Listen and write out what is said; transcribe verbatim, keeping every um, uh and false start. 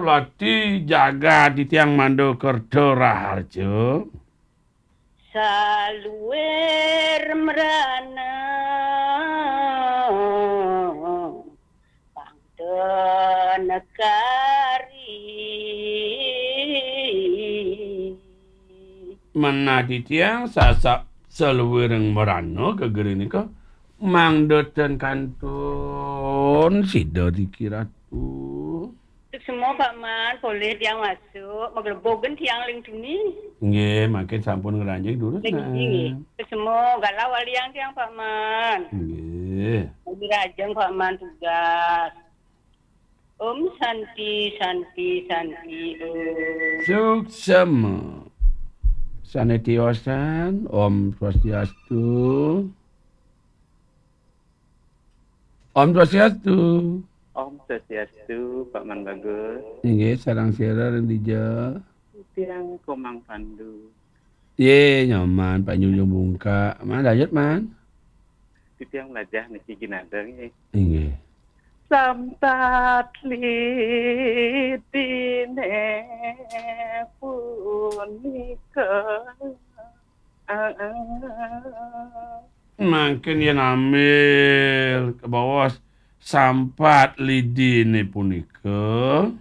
Pati jagat titiang Manda Kerta Raharja. Saluir mrana pangda negari. Manah titiang sasak saluiring mrana gegere nika mangda ten kantun sida tiki Ratu. Suksma, Pak Man, polih tiang masuk, maglebug tiang ling tuni. Nggih, mangkin sampun ngranjing durus, Ling tuni, nggih. Nah. Suksma, galah waliang tiang, Pak Man. Nggih. Lagi rajang, Pak Man, tugas. Om Santi, Santi, Santi, Om. Suksma. Sane tiosan, Om Swastiastu. Om Swastiastu. Om Swastiastu, Pak Man Bagus. Inggih, sareng sira ring dija. Tiang Komang Pandu. Ye, nyoman, Pak Nyunjung Bungka. Man, lanjut, Man. Titiang lajah niki ginadeng, nggih. Inggih. Sampat lidine punika. Mangkin yen ambil kabaos sampat lidine punika.